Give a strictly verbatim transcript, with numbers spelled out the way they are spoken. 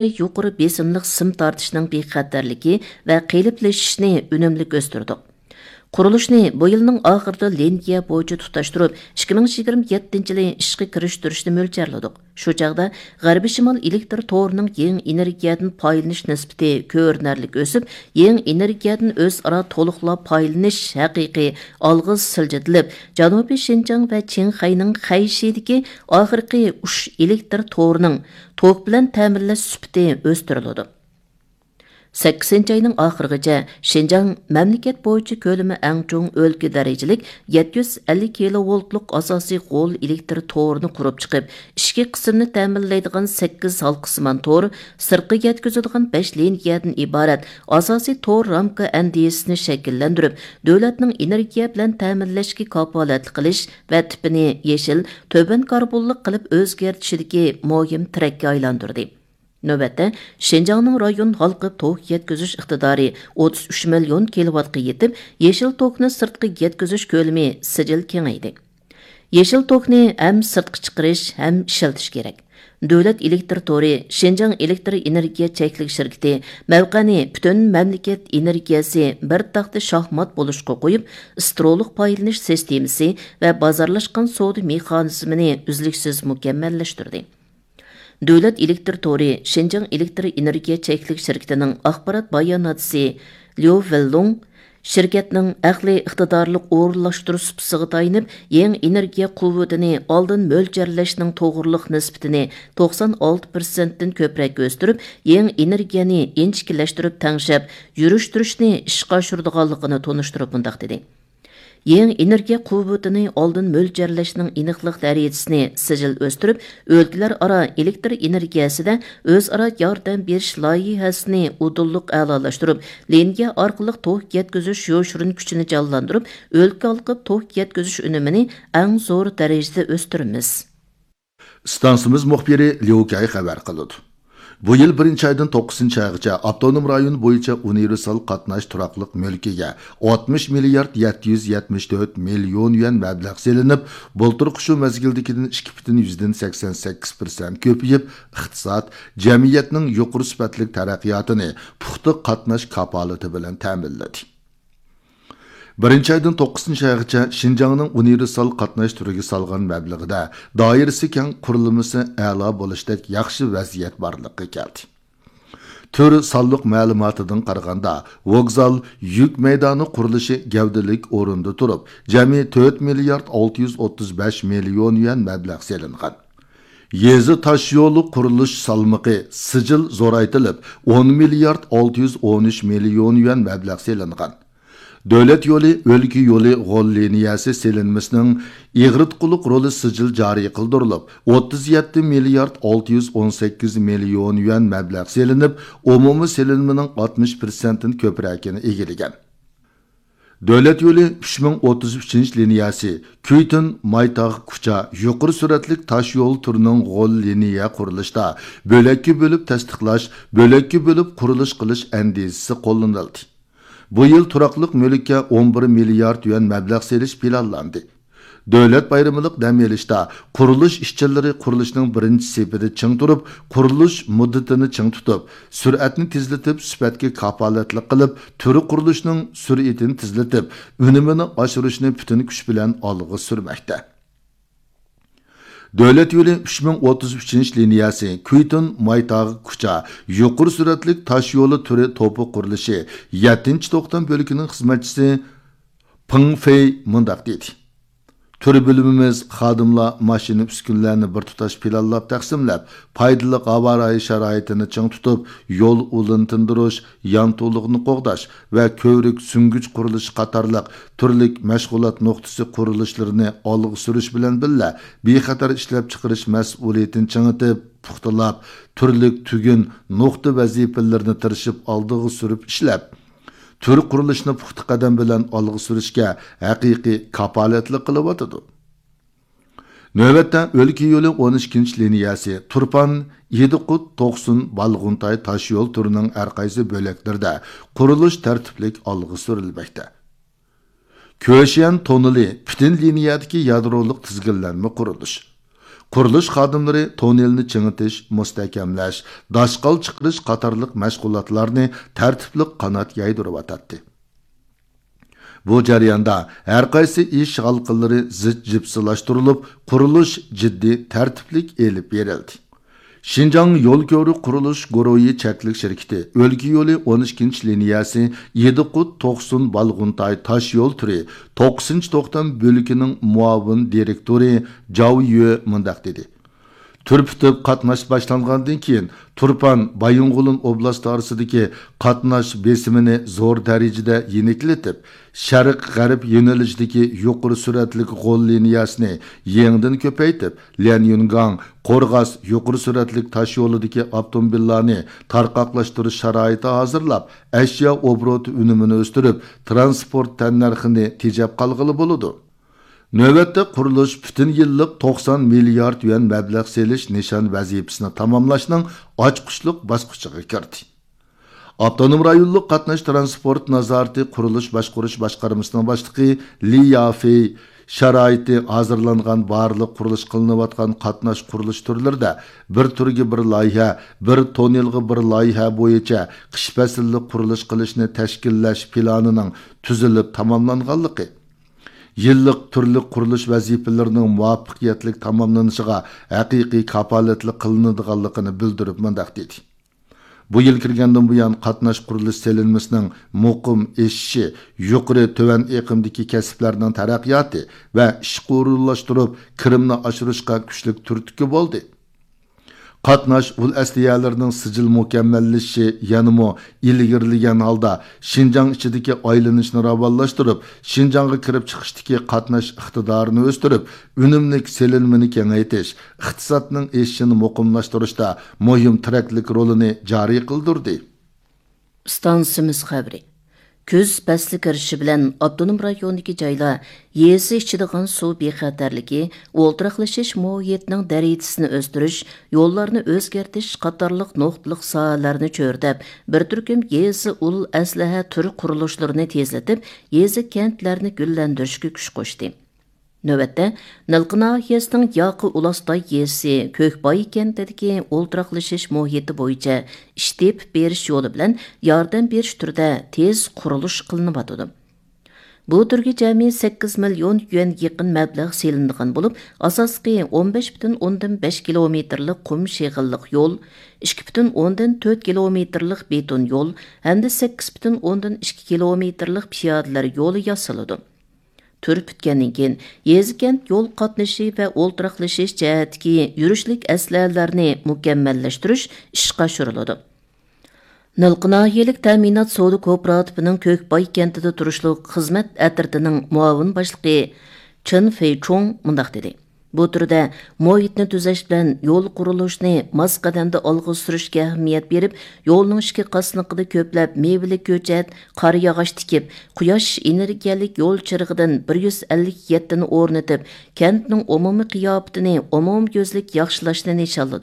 يۇقىرى بېسىملىق سىم تارتىشنىڭ بىخەتەرلىكى ۋە قېلىپلىشىشىنى ئۈنۈملۈك ئۆستۈردۇق. قۇرۇلۇشنى بۇ يىلنىڭ ئاخىرىدا لىنىيە بويىچە تۇتاشتۇرۇپ، ئىككى مىڭ يىگىرمە يەتتىنچى يىلى ئىشقا كىرىشتۈرۈشنى مۆلچەرلىدۇق. شۇ چاغدا غەربىي شىمال ئېلېكتر تورىنىڭ يېڭى ئېنېرگىيەدىن پايدىلىنىش نىسبىتى كۆرۈنەرلىك ئۆسۈپ، يېڭى ئېنېرگىيەدىن ئۆزئارا تولۇقلاپ پايدىلىنىش ھەقىقىي ئالغا سىلجىتىلىپ، جەنۇبىي شىنجاڭ ۋە چىڭخەينىڭ خەيشىدىكى ئاخىرقى ئۇچ ئېلېكتر تورىنىڭ توك بىلەن تەمىنلەش سۈپىتى ئۆستۈرۈلىدۇ. سەككىزىنچى ئاينىڭ ئاخىرىغىچە شىنجاڭ مەملىكەت بويىچە كۆلىمى ئەڭ چوڭ ئۆلكە دەرىجىلىك يەتتە يۈز ئەللىك كىلوۋولتلۇق ئاساسىي غول ئېلېكتر تورىنى قۇرۇپ چىقىپ، ئىچكى قىسىمنى تەمىنلەيدىغان سەككىز ھالقىسىمان تور، سىرتقا يەتكۈزىدىغان بەش لىنىيەدىن ئىبارەت ئاساسىي تور رامكا ئەندىزىسىنى شەكىللەندۈرۈپ، دۆلەتنىڭ ئېنېرگىيە بىلەن تەمىنلەشكە كاپالەتلىك قىلىش ۋە تىپىنى يېشىل، تۆۋەن كاربونلۇق قىلىپ ئۆزگەرتىشىدىكى مۇھىم تىرەككە ئايلاندۇردى. نۆۋەتتە، شىنجاڭنىڭ رايون ھالقىپ توك يەتكۈزۈش ئىقتىدارى ئوتتۇز ئۈچ مىليون كىلوۋاتقا يېتىپ، يېشىل توكنى سىرتقا يەتكۈزۈش كۆلىمى سىجىل كېڭەيدى. يېشىل توكنى ھەم سىرتقا چىقىرىش، ھەم ئىشلىتىش كېرەك. دۆلەت ئېلېكتر تورى، شىنجاڭ ئېلېكتر ئېنېرگىيە چەكلىك شىركىتى مەۋقەنى پۈتۈن مەملىكەت ئېنېرگىيەسى بىر تاختا شاھمات بولۇشقا قويۇپ، ئىسترولۇق پايدىلىنىش سىستېمىسى ۋە بازارلاشقان سودا مېخانىزمىنى ئۈزلۈكسىز مۇكەممەللەشتۈردى. دۆلەت ئېلېكتر تورى شىنجاڭ ئېلېكتر ئېنېرگىيە چەكلىك شىركىتىنىڭ ئاخبارات باياناتچىسى ليۇ ۋېنلۇڭ شىركەتنىڭ ئەقلىي ئىقتىدارلىق ئورۇنلاشتۇرۇش سۇپىسىغا تايىنىپ، يېڭى ئېنېرگىيە قۇۋۋىتىنى ئالدىن مۆلچەرلەشنىڭ توغرىلىق نىسبىتىنى توقسان ئالتە پىرسەنتتىن كۆپرەك ئۆستۈرۈپ، يېڭى ئېنېرگىيەنى ئىنچىكىلەشتۈرۈپ تەڭشەپ يۈرۈشتۈرۈشنى ئىشقا ئاشۇرىدىغانلىقىنى تونۇشتۇرۇپ مۇنداق دېدى: يېڭى ئېنېرگىيە قۇۋۋىتىنى ئالدىن مۆلچەرلەشنىڭ ئېنىقلىق دەرىجىسىنى سىجىل ئۆستۈرۈپ، ئۆلكىلەر ئارا ئېلېكتر ئېنېرگىيەسىدە ئۆزئارا ياردەم بېرىش لايىھەسىنى ئۇدۇللۇق ئەلالاشتۇرۇپ، لىنىيە ئارقىلىق توك يەتكۈزۈش يوشۇرۇن كۈچىنى جانلاندۇرۇپ، ئۆلكە ھالقىپ توك يەتكۈزۈش ئۈنۈمىنى ئەڭ زور دەرىجىدە ئۆستۈرىمىز. ئىستانسىمىز مۇخبىرى ليۇ كەي خەۋەر قىلىدۇ. بۇ يىل بىرىنچى ئايدىن توققۇزىنچى ئايغىچە ئاپتونوم رايون بويىچە ئۇنىۋېرسال قاتناش تۇراقلىق مۈلكىگە ئاتمىش مىليارد يەتتە يۈز يەتمىش تۆت مىليون يۈەن مەبلەغ سېلىنىپ، بۇلتۇرقى شۇ مەزگىلدىكىدىن ئىككى پۈتۈن يۈزدىن سەكسەن سەككىز پىرسەنت كۆپىيىپ، ئىقتىساد، جەمئىيەتنىڭ يۇقىرى سۈپەتلىك تەرەققىياتىنى پۇختا قاتناش كاپالىتى بىلەن تەمىنلىدى. بىرىنچى ئايدىن توققۇزىنچى ئايغىچە شىنجاڭنىڭ ئۇنىۋېرسال قاتناش تۈرىگە سالغان مەبلىغىدە دائىرىسى كەڭ، قۇرۇلمىسى ئەلا بولۇشتەك ياخشى ۋەزىيەت بارلىققا كەلدى. تۈر سانلىق مەلۇماتىدىن قارىغاندا، ۋوگزال يۈك مەيدانى قۇرۇلۇشى گەۋدىلىك ئورۇندا تۇرۇپ، جەمئىي تۆت مىليارد ئالتە يۈز ئوتتۇز بەش مىليون يۈەن مەبلەغ سېلىنغان. يېزا تاشيولى قۇرۇلۇش سالمىقى سىجىل زورايتىلىپ، ئون مىليارد ئالتە يۈز ئون ئۈچ مىليون يۈەن مەبلەغ سېلىنغان. دۆلەت يولى، ئۆلكە يولى غول لىنىيەسى سېلىنمىسىنىڭ ئېغىرتقۇلۇق رولى سىجىل جارى قىلدۇرۇلۇپ، ئوتتۇز يەتتە مىليارد ئالتە يۈز ئون سەككىز مىليون يۈەن مەبلەغ سېلىنىپ، ئومۇمىي سېلىنمىنىڭ ئاتمىش پىرسەنتتىن كۆپرەكىنى ئىگىلىگەن. دۆلەت يولى ئۈچ مىڭ ئوتتۇز ئۈچىنچى لىنىيەسى، كۈيتۈن مايتاغ كۇچا يۇقىرى سۈرئەتلىك تاش يول تۈرىنىڭ غول لىنىيە قۇرۇلۇشىدا بۆلەككە بۆلۈپ تەستىقلاش، بۆلەككە بۆلۈپ قۇرۇلۇش قىلىش ئەندىزىسى قوللىنىلدى. بۇ يىل تۇراقلىق مۈلۈككە ئون بىر مىليارد يۈەن مەبلەغ سېلىش پىلانلاندى. دۆلەت بايرىمىلىق دەم ئېلىشتا قۇرۇلۇش ئىشچىلىرى قۇرۇلۇشنىڭ بىرىنچى سېپىدە چىڭ تۇرۇپ، قۇرۇلۇش مۇددىتىنى چىڭ تۇتۇپ، سۈرئەتنى تېزلىتىپ، سۈپەتكە كاپالەتلىك قىلىپ، تۈر قۇرۇلۇشنىڭ سۈرئىتىنى تېزلىتىپ، ئۈنۈمىنى ئاشۇرۇشنى پۈتۈن كۈچ بىلەن ئالغا سۈرمەكتە. دۆلەت يولى ئۈچ مىڭ ئوتتۇز ئۈچىنچى لىنىيەسى، كۈيتۈن مايتاغ كۇچا يۇقىرى سۈرئەتلىك تاش يولى تۈرى توپى قۇرۇلۇشى يەتتىنچى توختام بۆلىكىنىڭ خىزمەتچىسى پېڭ فېي مۇنداق دېدى: تۈر بۆلۈمىمىز خادىملار ماشىنا ئۈسكۈنىلەرنى بىر تۇتاش پىلانلاپ تەقسىملەپ، پايدىلىق ھاۋا رايى شارائىتىنى چىڭ تۇتۇپ، يول ئۇلىنى تىندۇرۇش، يانتۇلۇقنى قوغداش ۋە كۆۋرۈك سۈڭگۈچ قۇرۇلۇشى قاتارلىق تۈرلۈك مەشغۇلات نۇقتىسى قۇرۇلۇشلىرىنى ئالغا سۈرۈش بىلەن بىللە، بىخەتەر ئىشلەپچىقىرىش مەسئۇلىيىتىنى چىڭىتىپ، پۇختىلاپ، تۈرلۈك تۈگۈن، نۇقتا ۋەزىپىلىرىنى تىرىشىپ ئالدىغا سۈرۈپ ئىشلەپ، تۈر قۇرۇلۇشىنى پۇختا قەدەم بىلەن ئالغا سۈرۈشكە ھەقىقىي كاپالەتلىك قىلىۋاتىدۇ. نۆۋەتتە ئۆلكە يولى ئون ئىككىنچى لىنىيەسى، تۇرپان، ئىدىقۇت، توقسۇن، بالغۇنتاي تاش يول تۈرىنىڭ ھەر قايسى بۆلەكلىرىدە قۇرۇلۇش تەرتىپلىك ئالغا سۈرۈلمەكتە. كۆشيەن توننېلى پۈتۈن لىنىيەدىكى يادرولۇق تىزگىنلەنمە قۇرۇلۇش. قۇرۇلۇش خادىملىرى توننېلنى چىڭىتىش، مۇستەھكەملەش، داشقال چىقىرىش قاتارلىق مەشغۇلاتلارنى تەرتىپلىق قانات يايدۇرۇۋاتاتتى. بۇ جەرياندا ھەرقايسى ئىش ھالقىلىرى زىچ جىپسىلاشتۇرۇلۇپ، قۇرۇلۇش جىددىي تەرتىپلىك ئېلىپ بېرىلدى. شىنجاڭ يول كۆۋرۈك قۇرۇلۇش گۇرۇھى چەكلىك شىركىتى ئۆلكە يولى ئون ئىككىنچى لىنىيەسى ئىدىقۇت توقسۇن بالغۇنتاي تاش يول تۈرى توققۇزىنچى توختام بۆلىكىنىڭ مۇئاۋىن دىرېكتورى جاۋ يۈ مۇنداق دېدى: تۈر پۈتۈپ قاتناش باشلانغاندىن كېيىن، تۇرپان، بايىنغولىن ئوبلاستى ئارىسىدىكى قاتناش بېسىمىنى زور دەرىجىدە يېنىكلىتىپ، شەرق غەرب يۆنىلىشىدىكى يۇقىرى سۈرئەتلىك غول لىنىيەسىنى يېڭىدىن كۆپەيتىپ، ليەنيۈنگاڭ، قورغاس يۇقىرى سۈرئەتلىك تاش يولىدىكى ئاپتوموبىللارنى تارقاقلاشتۇرۇش شارائىتى ھازىرلاپ، ئەشيا ئوبوروتى ئۈنۈمىنى ئۆستۈرۈپ، تىرانسپورت تەننەرخىنى تېجەپ قالغىلى بولىدۇ. نۆۋەتتە قۇرۇلۇش پۈتۈن يىللىق توقسان مىليارد يۈەن مەبلەغ سېلىش نىشان ۋەزىپىسىنى تاماملاشنىڭ ئاچقۇچلۇق باسقۇچىغا كىردى. ئاپتونوم رايونلۇق قاتناش تىرانسپورت نازارىتى قۇرۇلۇش باشقۇرۇش باشقارمىسىنىڭ باشلىقى لى يافېي شارائىتى ھازىرلانغان بارلىق قۇرۇلۇش قىلىنىۋاتقان قاتناش قۇرۇلۇش تۈرلىرىدە بىر تۈرگە بىر لايىھە، بىر توننېلغا بىر لايىھە بويىچە قىش پەسىللىك قۇرۇلۇش قىلىشنى تەشكىللەش پىلانىنىڭ تۈزۈلۈپ تاماملانغانلىقى، يىللىق تۈرلۈك قۇرۇلۇش ۋەزىپىلىرىنىڭ مۇۋەپپەقىيەتلىك تاماملىنىشىغا ھەقىقىي كاپالەتلىك قىلىنىدىغانلىقىنى بىلدۈرۈپ مۇنداق دېدى: بۇ يىل كىرگەندىن بۇيان، قاتناش قۇرۇلۇش سېلىنمىسىنىڭ مۇقىم ئېشىشى يۇقىرى تۆۋەن ئېقىمدىكى كەسىپلەرنىڭ تەرەققىياتى ۋە ئىشقا ئورۇنلاشتۇرۇپ، كىرىمنى ئاشۇرۇشقا كۈچلۈك تۈرتكە بولدى. قاتناش ئۇل ئەسلىھەلىرىنىڭ سىجىل مۇكەممەللىشىشى يەنىمۇ ئىلگىرىلىگەن ھالدا، شىنجاڭ ئىچىدىكى ئايلىنىشنى راۋانلاشتۇرۇپ، شىنجاڭغا كىرىپ چىقىشتىكى قاتناش ئىقتىدارىنى ئۆستۈرۈپ، ئۈنۈملۈك سېلىنمىنى كېڭەيتىش، ئىقتىسادنىڭ ئېشىشىنى مۇقىملاشتۇرۇشتا مۇھىم تىرەكلىك رولىنى جارى قىلدۇردى. ئىستانسىمىز خەۋىرى. كۈز پەسلى كىرىشى بىلەن ئاپتونوم رايوندىكى جايلار يېزا ئىچىدىغان سۇ بىخەتەرلىكى، ئولتۇراقلىشىش مۇھىتىنىڭ دەرىجىسىنى ئۆستۈرۈش، يوللارنى ئۆزگەرتىش قاتارلىق نۇقتىلىق ساھەلەرنى چۆرىدەپ، بىر تۈركۈم يېزا ئۇل ئەسلىھە تۈر قۇرۇلۇشلىرىنى تېزلىتىپ، يېزا كەنتلەرنى گۈللەندۈرۈشكە كۈچ قوشتى. نۆۋەتتە، نىلقا ناھىيەسىنىڭ ياقا ئۇلاستاي يېزىسى كۆكباي كەنتىدىكى ئولتۇراقلىشىش مۇھىتى بويىچە ئىش تېپىپ بېرىش يولى بىلەن ياردەم بېرىش تۈرىدە تېز قۇرۇلۇش قىلىنىۋاتىدۇ. بۇ تۈرگە جەمئىي سەككىز مىليون يۈەن يېقىن مەبلەغ سېلىنىدىغان بولۇپ، ئاساسلىقى ئون بەش پۈتۈن ئوندىن بەش كىلومېتىرلىق قۇم شېغىللىق يول، ئىككى پۈتۈن ئوندىن تۆت كىلومېتىرلىق بېتون يول ھەمدە سەككىز پۈتۈن ئوندىن ئىككى كىلومېتىرلىق پىيادىلەر يولى ياسىلىدۇ. تۈر پۈتكەندىن كېيىن، يېزا كەنت يول قاتنىشى ۋە ئولتۇراقلىشىش جەھەتتىكى يۈرۈشلۈك ئەسلىھەلەرنى مۇكەممەللەشتۈرۈش ئىشقا ئاشۇرۇلىدۇ. نىلقا ناھىيەلىك تەمىنات سودا كوپىراتىپىنىڭ كۆكباي كەنتىدە تۇرۇشلۇق خىزمەت ئەترىتىنىڭ مۇئاۋىن باشلىقى چېن فېيچۇڭ مۇنداق دېدى: بۇ تۈردە مۇھىتنى تۈزەش بىلەن يول قۇرۇلۇشىنى ماس قەدەمدە ئالغا سۈرۈشكە ئەھمىيەت بېرىپ، يولنىڭ ئىككى قاسنىقىدا كۆپلەپ مېۋىلىك كۆچەت، قارا ياغاچ تىكىپ، قۇياش ئېنېرگىيەلىك يول چىرىغىدىن بىر يۈز ئەللىك يەتتىنى ئورنىتىپ، كەنتنىڭ ئومۇمىي قىياپىتىنى ئومۇميۈزلۈك ياخشىلاشنى نىشانلىدۇق.